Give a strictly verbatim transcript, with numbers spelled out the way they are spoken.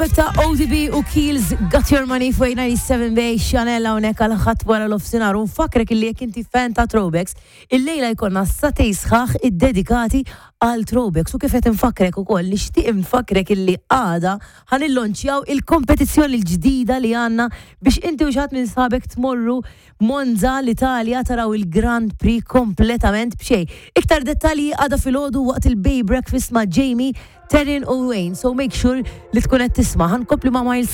Ta' O D B u Keels, Got Your Money fuq disgħa u sebgħin Bay Chanel hawnhekk għal Ħadd wara nofsinhar. U nfakkrek illi jekk inti fan ta' throwbacks, illejla jkollna sagħtejn sħaħ iddedikati għal throwbacks. U kif qed nfakkrek ukoll, nixtieq nfakkrek illi għada ħa nillonċjaw il-kompetizzjoni l-ġdida li għandna biex inti u xi ħadd minn sħabek tmorru Monza, l-Italja, taraw il-Grand Prix kompletament b'xejn. Iktar dettalji għada filgħodu waqt il-Bay Breakfast ma' Jamie, Terin u Wayne. So make sure li tkun qed tisma'. Ħa nkompli ma' Miles.